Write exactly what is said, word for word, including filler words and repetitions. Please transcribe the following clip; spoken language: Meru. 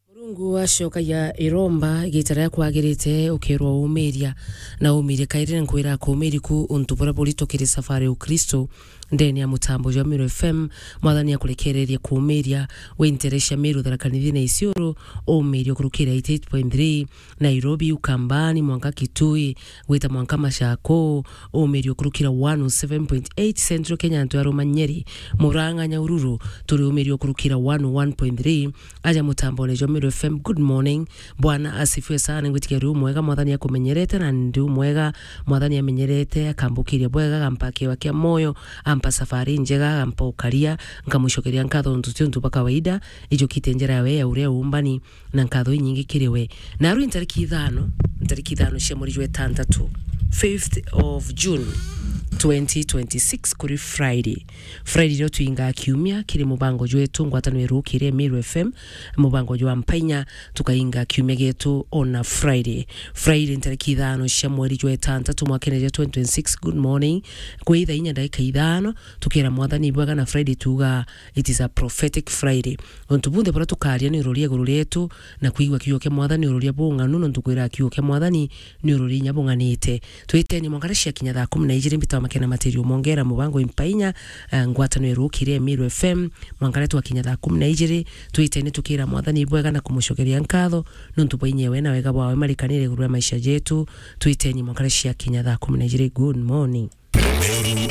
Murungu acokagia iromba igita riria kwagirite, ukerwa umiria na umirie kairi, na nkwira akumirie ku untu buria buritu kiri safari ya Ukristo. Ndene ya mutambo jwa Meru F M, Mwathani akurekererie kumiria wi ntere cia Meru, Tharaka Nithi na Isiolo, umirie ukurukira eighty eight point three, Nairobi, Ukambani, mwanka Kitui, gwita mwanka Machakos, umirio kurukira one oh seven point eight Central Kenya, antu aruma Nyeri, Murang'a, Nyahururu, turi umirio kurukira one oh one point three, aja mutambone jwa Meru F M. Good morning. Bwana asifiwe sana, ngwitikia ri umwega, Mwathani akumenyerete, na ndi umwega, Mwathani amenyerete, akambukiria bwega, agampa kiwa kia moyo, ampa safari njega, agampa ukaria, nkamucokeria nkatho nontu ti untu bwa kawaida, ijukite njira yawe ya uria umbani, na nkatho inyingi kiri we. Naru ntariki ithano, ntariki ithano cia mweri jwa itantatu, fifth of June, twenty twenty-six, kuri Friday. Friday rio tuingaa kiumia kiri mubango jwetu, ngwataniro irukire Meru F M, mubango jwa Mpainya, tukainga kiumia gietu ona Friday. Friday ntariki ithano cia mweri jwa itantatu mwakene jwa twenty twenty-six. Good morning. Kwi thaa inya ndagika ithano, tukira Mwathani bwega na Friday tuga it is a prophetic Friday. Untu bunthe buria tukaria ni uroria iguru rietu, na kwigua kiugo kia Mwathani ni uroria bung'anu, nontu kwira kiugo kia Mwathani ni uroria inya bung'anite. Twiteni mwanka riria ciakinya thaa kumi na ijiri, mbita wa makena matiri umongera mubango Impainya, eh, ngwataniro irukire Meru F M, mwanka riria twakinya thaa kumi na ijiri, twiteni tukira Mwathani bwega na kumucokeria nkatho, nontu bwa inya we na wega bwawe marikanire iguru ria maisha jetu. Twiteni mwanka riria ciakinya thaa kumi na ijiri. Good morning.